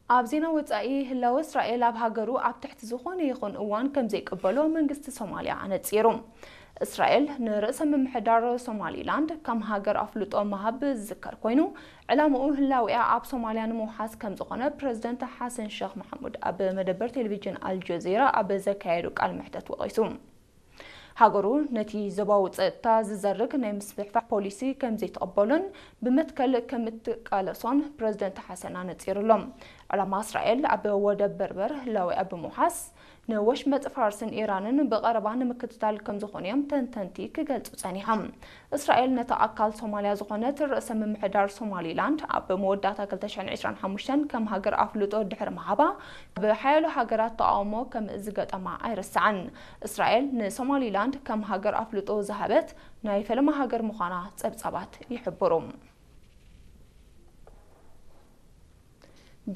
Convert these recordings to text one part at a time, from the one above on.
ኣብ ዜና ወጻኢ፣ ህላወ እስራኤል ኣብ ሃገሩ ኣብ ትሕቲ ዝኾነ ይኹን እዋን ከም ዘይቅበሎ መንግስቲ ሶማልያ ኣነጺሩ። እስራኤል ንርእሰ ምምሕዳር ሶማሊላንድ ከም ሃገር ኣፍልጦ ምሃብ ዝዝከር ኮይኑ፣ ዕላምኡ ህላዊኣ ኣብ ሶማልያ ንምውሓስ ከም ዝኾነ ፕረዚደንት ሓሰን ሸኽ መሓሙድ ኣብ መደበር ቴሌቪዥን ኣልጀዚራ ኣብ ዘካየዱ ቃል መሕተት ወቒሱ። ሃገሩ ነቲ ዞባዊ ጸጥታ ዝዘርግ ናይ ምስፍሕፋሕ ፖሊሲ ከም ዘይትቕበሎን ብመትከል ከም እትቃለሶን ፕረዚደንት ሓሰን ኣነጺሩሎም። ዕላማ እስራኤል ኣብ ወደብ በርበር ህላዊኣ ብምውሓስ፣ ንወሽመጥ ፋርስን ኢራንን ብቐረባ ንምክትታል ከም ዝኾኑ እዮም ተንተንቲ ክገልጹ ጸኒሖም። እስራኤል ነታ ኣካል ሶማልያ ዝኾነት ርእሰ ምምሕዳር ሶማሊላንድ ኣብ መወዳእታ ክልተ ሽሕን ዕስራን ሓሙሽተን ከም ሃገር ኣፍልጦ ድሕሪ ምሃባ፣ ብሓያሎ ሃገራት ተቓውሞ ከም ዝገጠማ ኣይርሳዕን። እስራኤል ንሶማሊላንድ ከም ሃገር ኣፍልጦ ዝሃበት ናይ ፈለማ ሃገር ምዃና ጸብጻባት ይሕብሩ።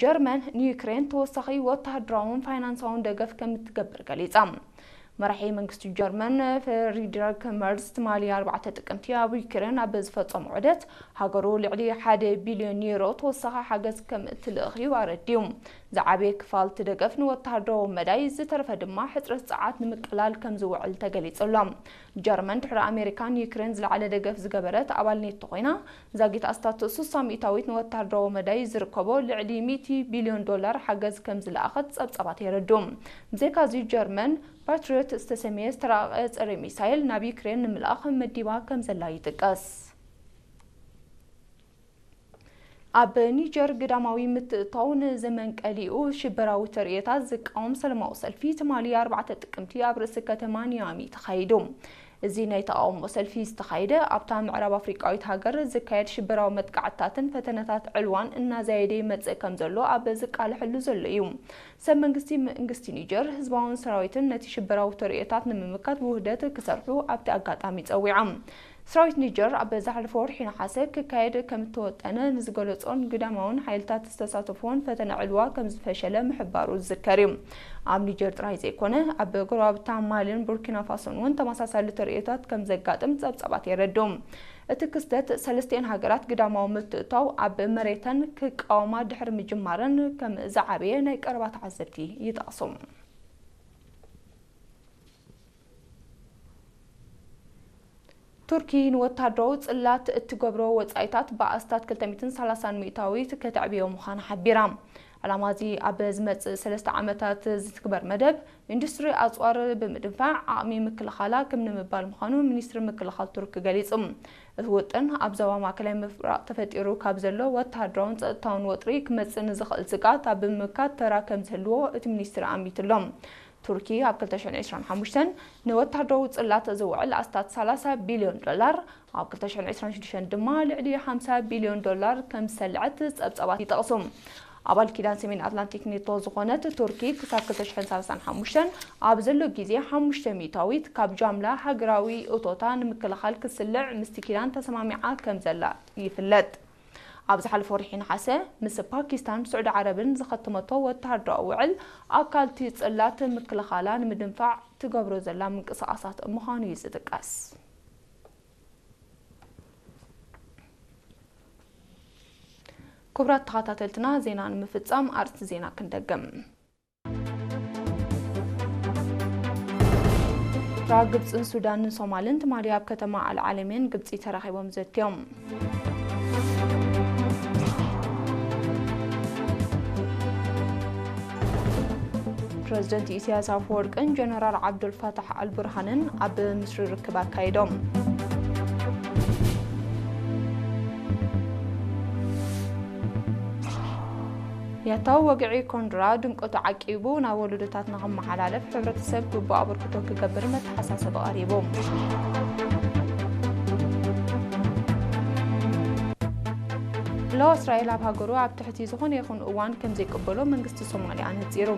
ጀርመን ንዩክሬን ተወሳኺ ወተሃደራውን ፋይናንሳውን ደገፍ ከም እትገብር ገሊጻ። መራሒ መንግስቲ ጀርመን ፍሪድሪክ መርዝ ትማሊ ኣርባዕተ ጥቅምቲ ኣብ ዩክሬን ኣብ ዝፈጸሞ ዑደት፣ ሃገሩ ልዕሊ ሓደ ቢልዮን ዩሮ ተወሳኺ ሓገዝ ከም እትልእኽ እዩ ኣረዲኡ። ዝዓበየ ክፋል እቲ ደገፍ ንወተሃደራዊ መዳይ፣ ዝተረፈ ድማ ሕጽረት ጸዓት ንምቅላል ከም ዝውዕል ተገሊጹ ኣሎ። ጀርመን ድሕሪ ኣሜሪካ ንዩክሬን ዝለዓለ ደገፍ ዝገበረት ኣባል ኔቶ ኮይና፣ ዛጊት ኣስታት ስሳ ሚእታዊት ንወተሃደራዊ መዳይ ዝርከቦ ልዕሊ ሚእቲ ቢልዮን ዶላር ሓገዝ ከም ዝለኣኸት ጸብጻባት የረድኡ። ብዘይካዚ፣ ጀርመን ፓትሪዮት ዝተሰምየ ዝተራቐቐ ጸረ ሚሳይል ናብ ዩክሬን ንምልኣኽ መዲባ ከም ዘላ ይጥቀስ። ኣብ ኒጀር ግዳማዊ ምትእትታው ንዘመን ቀሊኡ ሽበራዊ ተርእዮታት ዝቃወም ሰላማዊ ሰልፊ ትማሊ ኣርባዕተ ጥቅምቲ ኣብ ርእሲ ከተማ ኒያሚ ተኻይዱ። እዚ ናይ ተቓውሞ ሰልፊ ዝተኻየደ ኣብታ ምዕራብ ኣፍሪቃዊት ሃገር ዝካየድ ሽበራዊ መጥቃዕትታትን ፈተነታት ዕልዋን እናዛየደ ይመጽእ ከም ዘሎ ኣብ ዝቃለሐሉ ዘሎ እዩ። ሰብ መንግስቲ መንግስቲ ኒጀር ህዝባውን ሰራዊትን ነቲ ሽበራዊ ተርእዮታት ንምምካት ብውህደት ክሰርሑ ኣብቲ ኣጋጣሚ ጸዊዖም። ሰራዊት ኒጀር ኣብ ዝሓለፈ ወርሒ ነሓሰ ክካየድ ከም እተወጠነ ንዝገለጾን ግዳማውን ሓይልታት ዝተሳተፍዎን ፈተነ ዕልዋ ከም ዝፈሸለ ምሕባሩ ዝዝከር እዩ። ኣብ ኒጀር ጥራይ ዘይኮነ፣ ኣብ ጎረባብታ ማልን ቡርኪና ፋሶን እውን ተመሳሳሊ ተርእዮታት ከም ዘጋጥም ጸብጻባት የረድኡ። እቲ ክስተት፣ ሰለስቲኤን ሃገራት ግዳማዊ ምትእትታው ኣብ መሬተን ክቃወማ ድሕሪ ምጅማረን፣ ከም ዝዓበየ ናይ ቀረባ ተዓዘብቲ ይጠቕሱ። ቱርኪ ንወታደራዊ ጽላት እትገብሮ ወጻኢታት ብኣስታት ክልተ ሚእትን ሰላሳን ሚእታዊት ከተዕብዮ ምዃና ሓቢራ። ዕላማ እዚ ኣብ ዝመጽእ ሰለስተ ዓመታት ዝትግበር መደብ፣ ኢንዱስትሪ ኣጽዋር ብምድንፋዕ ዓቕሚ ምክልኻላ ክም ንምባል ምዃኑ ሚኒስትሪ ምክልኻል ቱርኪ ገሊጹ። እቲ ውጥን፣ ኣብ ዞባ ማእከላይ ምብራቕ ተፈጢሩ ካብ ዘሎ ወተሃደራውን ጸጥታውን ወጥሪ ክመጽእ ንዝኽእል ስግኣት ኣብ ምምካት ተራ ከም ዝህልዎ እቲ ሚኒስትሪ ኣሚቱ ኣሎ። ቱርኪ ኣብ ክልተ ሽሕን ዕስራን ሓሙሽተን ንወተሃደራዊ ጽላት ዝውዕል ኣስታት ሰላሳ ቢልዮን ዶላር፣ ኣብ ክልተ ሽሕን ዕስራን ሽዱሽተን ድማ ልዕሊ ሓምሳ ቢልዮን ዶላር ከም ዝሰልዐት ጸብጻባት ይጠቕሱ። ኣባል ኪዳን ሰሜን ኣትላንቲክ ኔቶ ዝኾነት ቱርኪ፣ ክሳብ ክልተ ሽሕን ሰላሳን ሓሙሽተን ኣብ ዘሎ ግዜ፣ ሓሙሽተ ሚእታዊት ካብ ጃምላ ሃገራዊ እቶታ ንምክልኻል ክስልዕ ምስቲ ኪዳን ተሰማሚዓ ከም ዘላ ይፍለጥ። ኣብ ዝሓለፈ ወርሒ ነሓሰ፣ ምስ ፓኪስታን፣ ስዑዲ ዓረብን ዝኸተመቶ ወተሃደራዊ ውዕል፣ ኣካልቲ ጽላት ምክልኻላ ንምድንፋዕ ትገብሮ ዘላ ምንቅስቓሳት ምዃኑ እዩ ዝጥቀስ። ክቡራት ተኸታተልትና፣ ዜና ንምፍጻም ኣርእስቲ ዜና ክንደግም። ኤርትራ፣ ግብጽን ሱዳንን ሶማልን ትማሊ ኣብ ከተማ ኣልዓለሜን ግብጺ ተራኺቦም ዘትዮም። ፕረዚደንት ኢሳያስ ኣፈወርቅን ጀነራል ዓብዱልፋታሕ ኣልቡርሃንን ኣብ ምስሪ ርክብ ኣካይዶም። ያታዊ ወግዒ ኮንድራ ድምቀቱ ዓቂቡ ናብ ወለዶታት ንኽመሓላለፍ፣ ሕብረተሰብ ግቡእ ኣበርክቶ ክገብር መተሓሳሰቢ ቀሪቡ። ህላወ እስራኤል ኣብ ሃገሩ ኣብ ትሕቲ ዝኾነ ይኹን እዋን ከም ዘይቅበሎ መንግስቲ ሶማልያ ኣነጺሩ።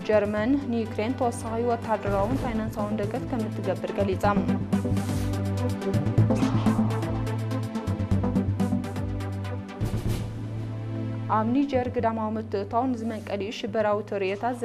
ጀርመን ንዩክሬን ተወሳኺ ወተሃደራውን ፋይናንሳውን ደገፍ ከም እትገብር ገሊጻ። ኣብ ኒጀር ግዳማዊ ምትእትታው ንዝመንቀሊኡ ሽበራዊ ተርእዮታት